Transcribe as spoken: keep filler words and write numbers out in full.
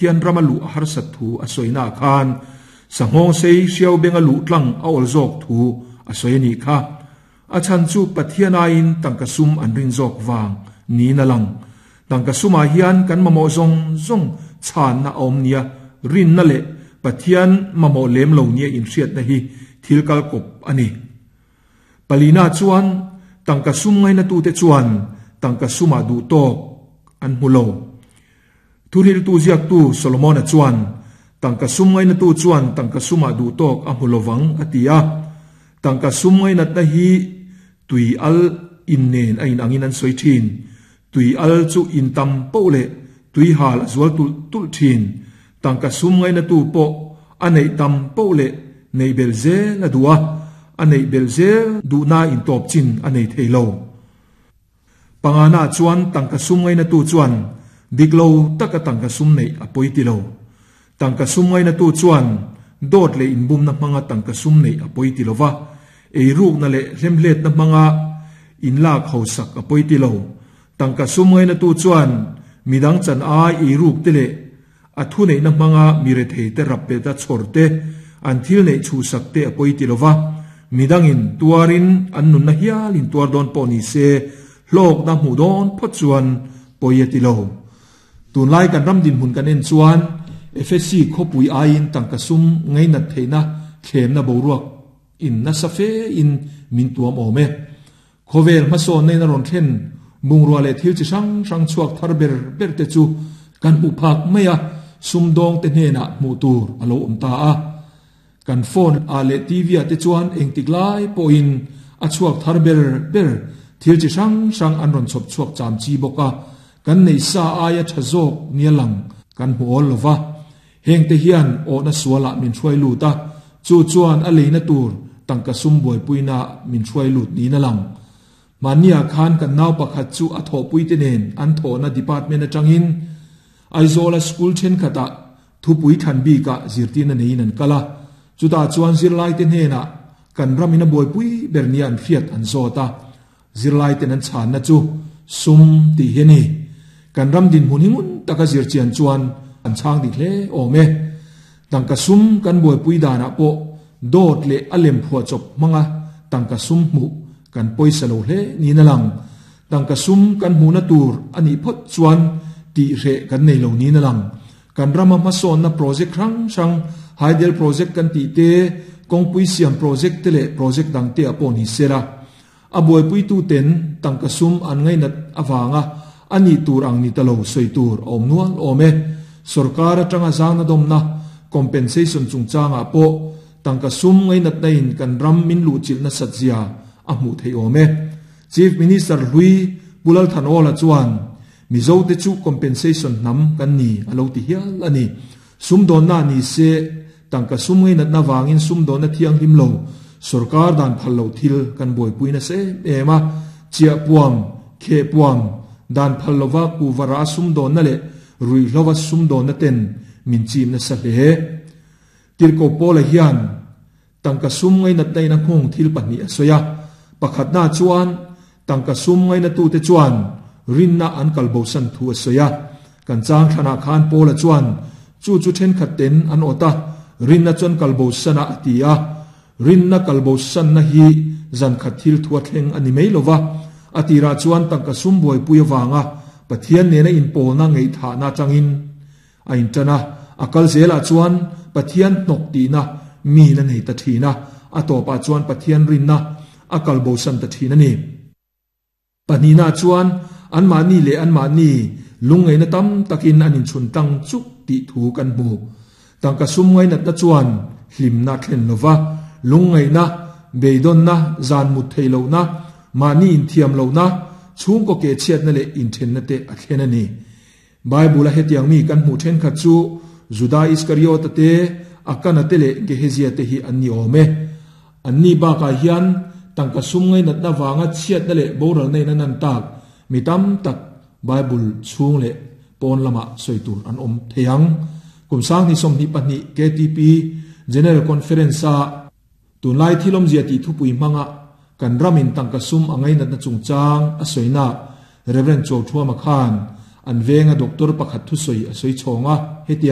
Pathian rama luh a harsat thu a sawina khan sanghawng sei hriau benga luh tlang a awl zawk thu a sawi a nih kha. A chhan chu Pathian aiin tangka sum an rin zawk vang niin a lang. Tangka sumah hian kan mamawh zawng zawng chhanna a awm nia, rinna leh Pathian mamawh lem lo nia inhriatna hi thil kal kawp a ni. Palina chuan tangka sum ngainatute chuan tangka sumah duh tawk an hmu lo. Thuhriltu ziaktu Solomona chuan tangka sum ngainatu chuan tangka sumah duh tawk a hmu lovang a ti a. Tangka sum ngainatna hi tui al in nen a inangin an sawi thin. Tui al chu in tam poh leh tui hal a zual tulh tulh thin. Tangka sum ngainatu pawh a neih tam poh leh neih belh zel a duh a, a neih belh zel duhna intawp chin a nei thei lo. Pangana chuan tangka sum ngainatu chuan dik lo taka tangka sum neih a pawi ti lo. Tangka sum ngainatu chuan dawt leh inbumna hmanga tangka sum neih a pawi ti lo va, eirukna leh hlemhletna hmanga inlak hausak a pawi ti lo. Tangka sum ngainatu chuan midang chan ai eiruk te leh a thu neihna hmanga mi rethei te rap peta chhawr te an thil neih chhuhsak te a pawi ti lo va, midangin tuarin an nunna hialin tuar dawn pawh ni se hlawkna hmuh dawn phawt chuan pawi a ti lo. Tunlai kan ram dinhmun kan en chuan F S C khawpui aiin tangka sum ngainat theihna thlemna boruak in nasa fe in min tuam awm e. Khawvel hmasawn neina rawn thlen bungrua leh thil chi hrang hrang chhuak thar ber ber te chu kan hmuh phak mai a, sum dawng te hnenah hmuh tur a lo awm ta a. Kan phone a leh T V ah te chuan engtik lai pawhin a chhuak thar ber ber thil chi hrang hrang an rawn chhawp chhuak cham chi bawk a, kan nei sa aia tha zawk nia lang kan hmu awl lova. Heng te hian awhna sualah min hruai lut a, chu chuan a leina tur tangka sum buaipuina min hruai lut niin a lang. Mahnia khan kan nau pakhat chu a thawhpui te nen an thawhna department atangin Aizawl a school thenkhatah thupui than bikah zirtirna neiin an kal a, chutah chuan zirlai te hnenah kan ramin a buaipui ber nia an hriat an zawt a, zirlai ten an chhanna chu sum tih hi a ni. Kan ram dinhmun hi ngun taka zirchian chuan an chhang dik hle awm e. Tangka sum kan buaipui danah pawh dawt leh a lem phuah chawp hmanga tangka sum hmuh kan pawisa lo hle niin a lang. Tangka sum kan hmuhna tur a nih phawt chuan tih hreh kan nei lo niin a lang. Kan rama hmasawnna project hrang hrang hydel project kan tih te, kawngpui siam project te leh project dang te ah pawh ni sela. A buaipuitu ten tangka sum an ngainat awanga a nih tur ang ni ta lo sawi tur a awm nual awm e. Sarkar atanga zangna dawmna compensation chungchangah pawh tangka sum ngainat na in kan ram min luh chilhna satzia a hmuh thei awm e. Chief Minister Hlui Pulal Thanawla chuan Mizo te chu compensation hnam kan ni a lo ti hial a ni. Sum dawnna ni se tangka sum ngainat na wangin sum dawnna thiang hlim lo sarkar dan phal lo thil kan buaipuina se em a, chiah puam khe puam dan phal lova ku vara sum dawnna leh rui hlova sum dawnna ten min chimna sa hle. Tirko pawla hian tangka sum ngainat na in a nghawng thil pahnih a sawi a. Pakhatna chuan tangka sum ngainatu te chuan rinna an kalbo san thu a sawi a. Kan chang thlanah khan pawla chuan chu chu thenkhat ten an awt a, rinna chuan kalbo sana a ti a. Rinna kalbo sanna hi zan khat thil thu a thleng a ni mai lova. A tirah chuan tangka sum buaipui awanga Pathian nena inpawlna ngaihthahna tangin a inṭan a. A kal zelah chuan Pathian hnawk tihna mi na nei ta thin a, a tawpah chuan Pathian rinna a kalbo san ta thin a ni. Pahnihna chuan an mahni leh an mahni lungngaihna tam takin an inchhun tlang chuk tih thu kan hmu. Tangka sum ngainatna chuan hlimna thlen lova, lungngaihna, beidawnna, zan mut thei lohna, mahni inthiam lohna, chhungkaw ke chhiatna leh inthenna te a thlen a ni. Bible a hetiang mi kan hmuh thenkhat chu Juda Iskariot te, Akana te leh Gehezia te hi an ni awm e. An ni bakah hian tangka sum ngainatna wanga chhiatna leh boral neina nan tak mi tam tak Bible chhung leh pawn lama sawi tur an awm theiang. Kum sang ni sawmhnih pahnih K T P General Conference a tunlai thilawm zia tih thupui hmanga kan ramin tangka sum a ngainatna chungchang a sawina Reverend Chaw Thuama khan an venga doctor pakhat thu sawi a sawi chhawnga hetiang